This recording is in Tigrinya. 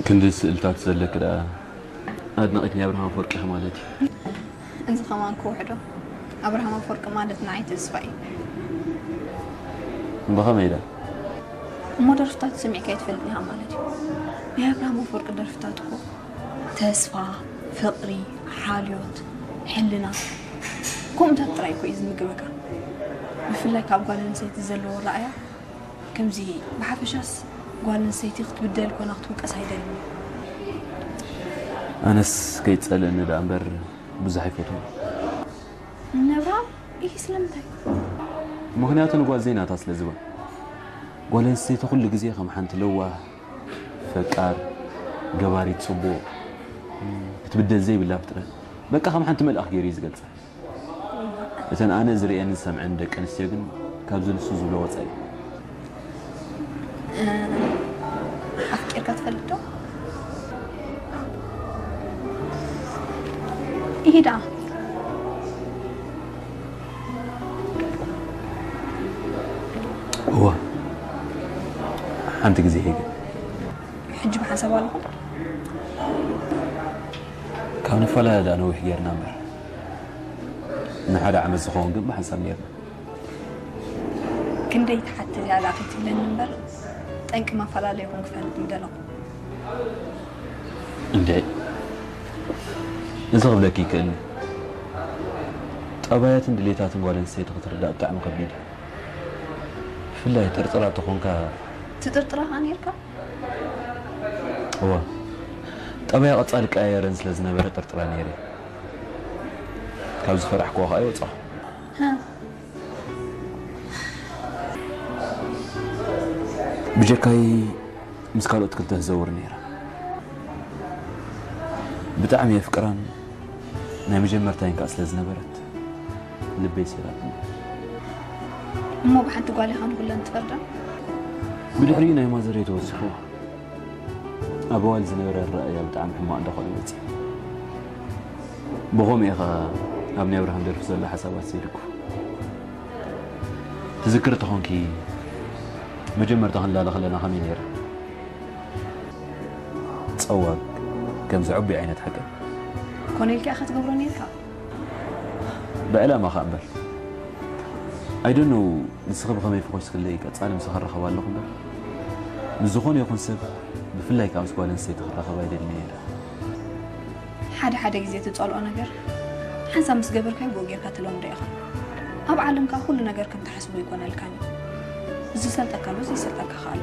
ክንዲ ስእልታት ዘለኪ ደኣ ኣድናቒት ናይ ኣብርሃም ኣፈወርቂ ኢኺ ማለት እዩ። እዚ ከማን ክውሕዶ። ኣብርሃም ኣፈወርቂ ማለት ንዓይ ተስፋ እዩ። ብኸመይ ደኣ? እሞ ደርፍታቱ ሰሚዕካ ኣይትፈልጥን ኢኻ ማለት እዩ። ናይ ኣብርሃም ኣፈወርቂ ደርፍታት እኮ ተስፋ፣ ፍቕሪ፣ ሓልዮት፣ ሕልና፣ ከምኡታት ጥራይ እኮ እዩ ዝምግበካ። ብፍላይ ካብ ጓል ኣንስተይቲ ዘለዎ ረኣያ ከምዚ። ብሓፈሻስ ጓል ኣንስተይቲ ክትብደል ኮና ክትውቀስ ኣይደልን። ኣነስ ከይጸልእኒ ደኣ እምበር ብዙሕ ኣይፈትዎ። ነብራ ይህ ስለምንታይ? ምኽንያቱ ንጓል ዘይናታ ስለ ዝበል። ጓል ኣንስተይቲ ኩሉ ግዜ ከም ሓንቲ ለዋህ፣ ፈቃር፣ ገባሪት ጽቡቕ፣ ክትብደል ዘይብላ ፍጥረት፣ በቃ ከም ሓንቲ መልኣኽ ገይሩ እዩ ዝገልጻ። እተን ኣነ ዝርእየንን ዝሰምዐን ደቂ ኣንስትዮ ግን ካብዚ ንሱ ዝብሎ ወጻኢ። ኣፍቂርካ ትፈልጥ ዶ? ይሄዳ። እወ፣ ሓንቲ ግዜ ይሄ ግን ሕጂ ብሓንሳብ ኣለኹም? ካብ ንፈላለ ደኣ ነዊሕ ጌርና እምበር፣ ንሓደ ዓመት ዝኸውን ግን ብሓንሳብ ኔርና። ክንደይ ትሓትት እያ ደኣ ከይትብለኒ እምበር፣ ጠንቂ መፈላለይኹም ክፈልጥ ምደለኹ። እንዴ፣ እዚ ክብለኪ ይክእልኒ። ጠባያትን ድሌታትን ጓል ኣንስተይቲ ክትርዳእ ብጣዕሚ ከቢድ እዩ። ብፍላይ ጥርጥራ ተኾንካ። ትጥርጥራ ኸኣ ኔርካ? እወ፣ ጠባያ ቀጻሊ ቀያየረን ስለ ዝነበረ ጥርጥራ ነይረ። ካብ ዝፈራሕክዎ ኸኣ ይወጻኹ። ሃ። ብጀካይ ምስ ካልኦት ክልተ ትዘውር ነይራ። ብጣዕሚ የፍቅራን ናይ መጀመርታይን ከኣ ስለ ዝነበረት ልበይ ሰይራትኒ። እሞ ብሓንቲ ጓል ኢኻ ንኹለን ትፈርዳ? ብድሕሪኡ ናይ ማዘረይ ተወሲኹ ኣብ ኣዋል ዝነበረ ኣረኣእያ ብጣዕሚ ሕማቕ እንዳኾነ መጺኡ። ብኸምኡ ኢኻ ኣብ ናይ ኣብርሃም ደርፊ ዘሎ ሓሳባት ሰይድኩ። ትዝክር ተኾንኪ መጀመርታ ክንላለ ከለና ከመይ ነይረ? ጸዋግ ከም ዝዕቡይ ዓይነት ሓቂ። ኮነ ኢልካ ኢኻ ትገብሮ ኔርካ? ብዕላማ ኸኣ እምበር። I don't know፣ ንስኺ ብኸመይ ፈኾስክለይ ቀጻሊ ምሳኺ እራኸብ ኣለኹ እምበር፣ ምስ ዝኾነ ይኹን ሰብ፣ ብፍላይ ከኣ ምስ ጓል ኣንስተይቲ ክራኸብ ኣይደልን እየ ኢለ። ሓደ ሓደ ግዜ ትጸልኦ ነገር ሓንሳብ ምስ ገበርካዮ ብኡ ጌርካ ትለምዶ ኢኻ። ኣብ ዓለም ከኣ ኩሉ ነገር ከም ትሓስቦ ኣይኮነልካን እዩ። ዝሰልጠካ ኣሎ፣ ዘይሰልጠካ ከኣ ኣሎ።